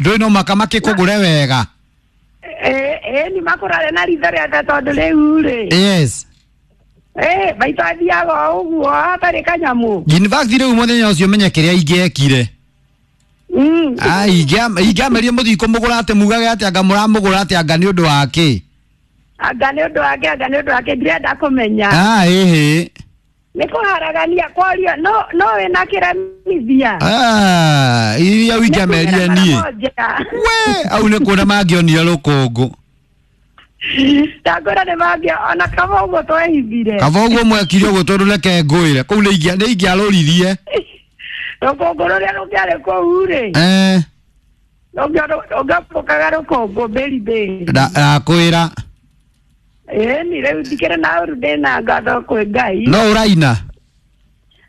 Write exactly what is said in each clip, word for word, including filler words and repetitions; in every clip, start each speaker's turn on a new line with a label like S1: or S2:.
S1: Ndũĩ no maka makĩkũgũre wega.
S2: Eh eh ni makũrare na ritho rĩake tondũ rĩu rĩ.
S1: Yes.
S2: Eh maitũ athiaga o ũguo hatarĩ kanyamũ.
S1: In fact rĩu mũthenya ũcio menye kĩrĩa ingĩekire.
S2: Mm.
S1: Ah, ingĩamerie mũthiĩ kũmũgũra atĩ mugage atĩ anga mũramũgũra atĩ anga nĩ ũndũ wa kĩ?
S2: Anga nĩ ũndũ wake, anga nĩ ũndũ wake, ndirenda kũmenya.
S1: Ah, ĩhĩ.
S2: Nĩ kũharagania kwaria no no wĩna kĩremithia.
S1: Ah, iria wingĩamerie niĩ. We, au nĩ kuona mangĩonire rũkũngũ.
S2: Ndangwĩra nĩ mangĩ ona kaba ũguo twehithire.
S1: Kaba ũguo mwekire ũguo tondũ reke ngwĩre kũu nĩ ingĩa nĩ ingĩarũririe.
S2: Rũkũngũ rũrĩa rũngĩarĩ kũu rĩ.
S1: Eh.
S2: Rũngĩombũkaga rũkũngũ mbĩri mbĩri.
S1: Ndakwĩra.
S2: Ĩni rĩu ndikĩrĩ na ũru ndĩna ngatho kwĩ Ngai.
S1: No ũraina?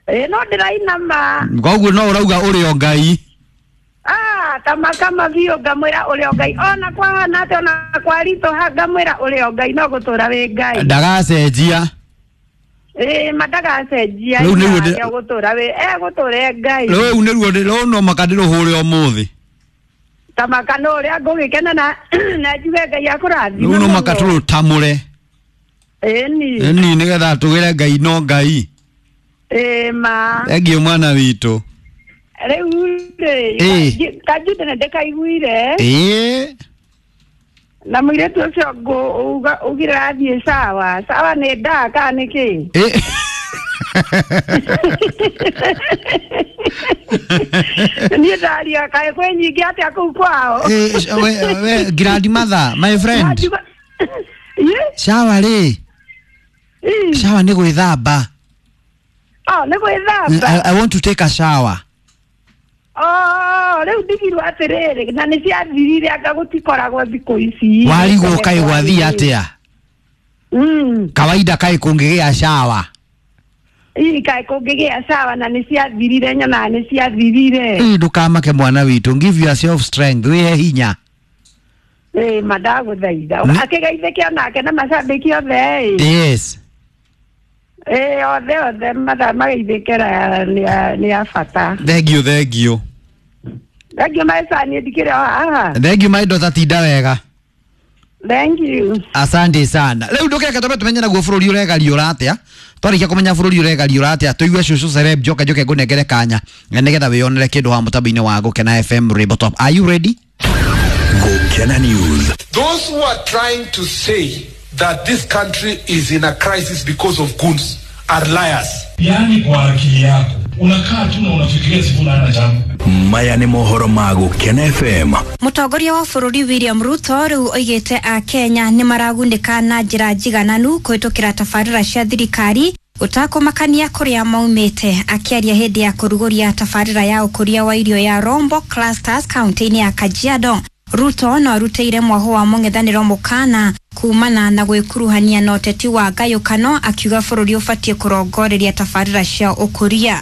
S2: Ĩĩ no ndĩraina ma.
S1: Koguo no ũrauga ũrĩ o Ngai.
S2: Ah, kama kama biũ ngamwĩra ũrĩ o Ngai ona kwahana atĩa ona kwaritũha ngamwĩra ũrĩ o Ngai no gũtũra wĩ Ngai.
S1: Ndagacenjia.
S2: Ĩĩ ma ndagacenjia.
S1: Rĩu nĩruo ndĩ-
S2: Egũtũra wĩ egũtũra e Ngai.
S1: Rĩu nĩruo rĩu no maka ndĩrũhũre ũmũthĩ.
S2: Tamaka no ũrĩa ngũgĩkena na na njuge Ngai akũrathime.
S1: Rĩu no maka tũrũtamũre.
S2: Ĩni.
S1: Ĩni nĩgetha tũgĩre Ngai no Ngai.
S2: Ĩĩ ma.
S1: Thengiũ mwana witũ.
S2: Rĩu rĩ
S1: Ĩĩ.
S2: Kanjude nĩ ndĩkaiguire.
S1: Ĩĩ.
S2: Na mũirĩtu ũcio ngũ ugire athiĩ sawa. Sawa nĩ ndaa kana nĩ kĩ?
S1: Ĩĩ.
S2: Niĩ ndaria kaĩ kwĩ nyingĩ atĩa kũu kwao?
S1: Ĩĩ, we we grandmother, my friend.
S2: Ĩĩ.
S1: Shower rĩ.
S2: Ĩĩ.
S1: Shower nĩ gwĩthamba.
S2: Oh, nĩ gwĩthamba.
S1: I, I want to take a shower.
S2: Oh, rĩu ndigirwo atĩrĩrĩ na nĩ ciathirire anga gũtikoragwo thikũ ici.
S1: Warigwo kaĩ gwathiĩ atĩa?
S2: Mm.
S1: Kawaida kaĩ kũngĩgĩa shower.
S2: Ii kaĩ kũngĩgĩa shower na nĩ ciathirire nyonaga nĩ ciathirire.
S1: Ĩĩ ndũkamake mwana witũ, give yourself strength, wĩhe hinya.
S2: Ĩĩ ma ndagũthaitha.
S1: Nĩ-
S2: Akĩgeithĩke onake na macambĩki othe ĩ.
S1: Yes.
S2: Ĩĩ othe othe mathaa mageithĩke nĩ a- nĩ a bata.
S1: Thengiũ thengiũ.
S2: Thengiũ maica niĩ ndikĩrĩ o haha.
S1: Thengiũ my daughter, tinda wega.
S2: Thank you.
S1: Asante sana. Rĩu ndũkĩreke twambe tũmenye naguo bũrũri ũregariũra atĩa. Twarĩkia kũmenya bũrũri ũregariũra atĩa, tũigue cũcũ celeb njoke njoke ngũnengere kanya nĩgetha wĩyonere kĩndũ wa mũtambo-inĩ wa Gũkena F M Rainbow Top. Are you ready?
S3: Gũkena News.
S4: Those who are trying to say that this country is in a crisis because of goons are liars.
S5: Yaani kwa akili yako unakaa tu na unafikiria Sifuna hana jambo.
S3: Maya nĩ mohoro ma Gũkena F M.
S6: Mũtongoria wa bũrũri William Ruto rĩu oigĩte a Kenya nĩ maragunĩka na njĩra njigananu kũhĩtũkĩra tabarĩra cia thirikari gũtakũmakania kũrĩa maumĩte. Akĩaria hĩndĩ ya kũrugũria tabarĩra ya ũkũria wa irio ya Rombo Clusters kaunti-inĩ ya Kajiado, Ruto no arutĩire mwaho wa mũng'ethanĩro mũkana kumana na gwĩkuruhania na ũteti wa ngayũkano, akiuga bũrũri ũbatiĩ kũrongoreria tabarĩra cia ũkũria.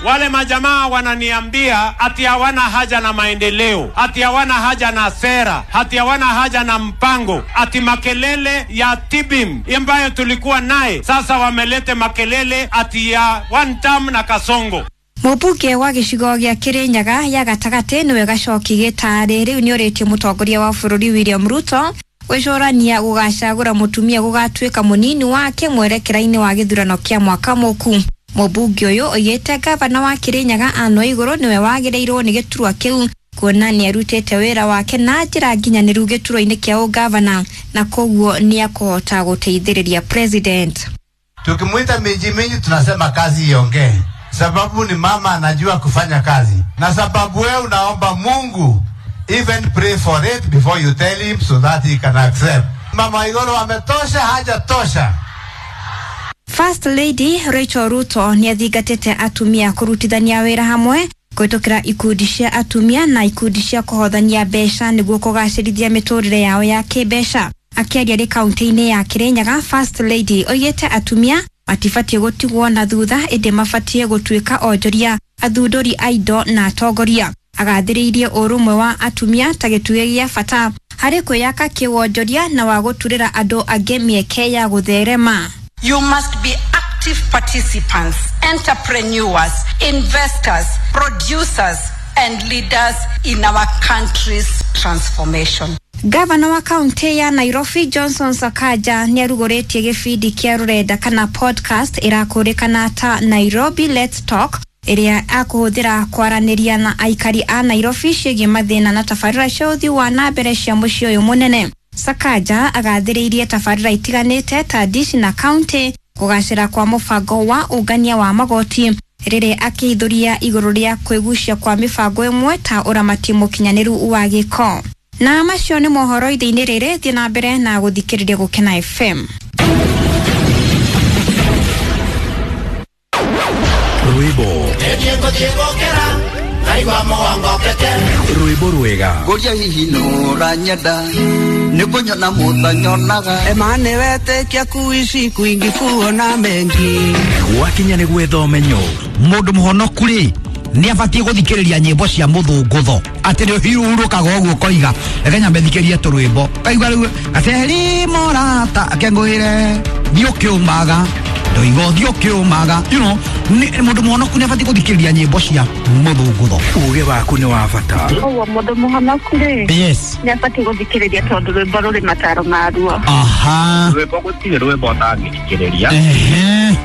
S7: Wale majamaa wananiambia ati hawana haja na maendeleo, ati hawana haja na sera, ati hawana haja na mpango, ati makelele ya Tibim ambayo tulikuwa naye sasa wamelete makelele ati ya one term na Kasongo.
S6: Mũmbunge wa gĩcigo gĩa Kĩrĩnyaga ya gatagatĩ nĩwe Gacoki Gĩtarĩ rĩu nĩorĩtie mũtongoria wa bũrũri William Ruto gwĩcũrania gũgacagũra mũtumia gũgatuĩka mũnini wake mwerekera-inĩ wa gĩthurano kĩa mwaka mũku. Mũmbunge ũyũ oigĩte gavana wa Kĩrĩnyaga Anne Waigũrũ nĩwe wagĩrĩirwo nĩ gĩturwa kĩu kuona nĩarutĩte wĩra wake na njĩra nginyanĩru gĩturwa-inĩ kĩa ũgavana na koguo nĩakũhota gũteithĩrĩria president.
S8: Tukimuita minji minji tunasema kazi iongee, sababu ni mama anajua kufanya kazi, na sababu wewe unaomba Mungu, even pray for it before you tell him so that he can accept. Mama Waiguru ametosha, hajatosha.
S6: First Lady Rachel Ruto nĩathingatĩte atumia kũrutithania wĩra hamwe kũhĩtũkĩra ikundi cia atumia na ikundi cia kũhothania mbeca nĩguo kũgacĩrithia mĩtũrĩre yao ya kĩmbeca. Akĩaria rĩ kaunti-inĩ ya Kĩrĩnyaga, First Lady oigĩte atumia matibatiĩ gũtigwo na thutha ĩndĩ mabatiĩ gũtuĩka onjoria, athundũri a indo na atongoria. Agathĩrĩirie ũrũmwe wa atumia ta gĩtugĩ gĩa bata harĩ kwĩyaka kĩwonjoria na wa gũturĩra andũ angĩ mĩeke ya gũtherema.
S9: You must be active participants, entrepreneurs, investors, producers, and leaders in our country's transformation.
S6: Gavana wa kaunti ya Nairobi Johnson Sakaja nĩarugũrĩtie gĩbindi kĩa rũrenda kana podcast ĩrakũrĩkana ta Nairobi Let's Talk ĩrĩa akũhũthĩra kwaranĩria na aikari a Nairobi ciĩgiĩ mathĩna na tabarĩra cia ũthii wa na mbere cia mũciĩ ũyũ mũnene. Sakaja agathĩrĩirie tabarĩra itiganĩte ta dishi na kaunti kũgacĩra kwa mũbango wa ũngania wa magoti rĩrĩa akĩhithũria igũrũ rĩa kwĩgucia kwa mĩbango ĩmwe ta ũramati mũkinyanĩru wa gĩko. Na macio nĩ mohoro ithe-inĩ rĩrĩ, thiĩ na mbere na gũthikĩrĩria Gũkena F M.
S3: Rwĩmbo rwĩmbo rwega
S10: ngũria hihi nũranyenda nĩkũnyona mũtanyonaga
S11: emane wetĩkia kuici kwingi kuona mengi
S3: gwakinya nĩ gwetha ũmenyo
S1: mũndũ mũhonoku rĩ nĩ abatiĩ gũthikĩrĩria nyĩmbo cia mũthũngũtho atĩ nĩ ũhurũkaga ũguo ũkoiga reke nyambe thikĩrie tũrwĩmbo kaigua rĩu gaceri morata akengũĩre thiĩ ũkĩũmaga ndoiga ũthiĩ ũkĩũmaga you know mũndũ mũhonoku nĩ abatiĩ gũthikĩrĩria nyĩmbo cia mũthũngũtho.
S3: Ũgĩ waku nĩ wa bata.
S2: Ũguo mũndũ mũhonoku rĩ
S1: yes
S2: nĩ abatiĩ gũthikĩrĩria tondũ rwĩmbo rũrĩ mataro maruo.
S1: Aha,
S12: rwĩmbo gũtirĩ rwĩmbo ũtangĩthikĩrĩria
S1: ehe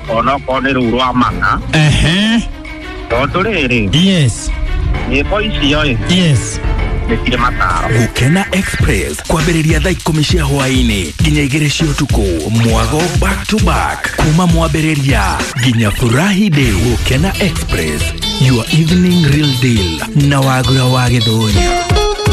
S12: onokorwo nĩ rũu rwa mana
S1: ehe
S12: tondũ rĩrĩ
S1: yes
S12: nyĩmbo icio ĩ
S1: yes
S12: nĩ cirĩ mataro.
S3: Gũkena Express kwambĩrĩria thaa ikũmi cia hwaĩ-inĩ nginya igĩrĩ cia ũtukũ mwago back to back kuma mwambĩrĩria nginya furahi day. Gũkena Express, your evening real deal na Wagura wa Gĩthũri.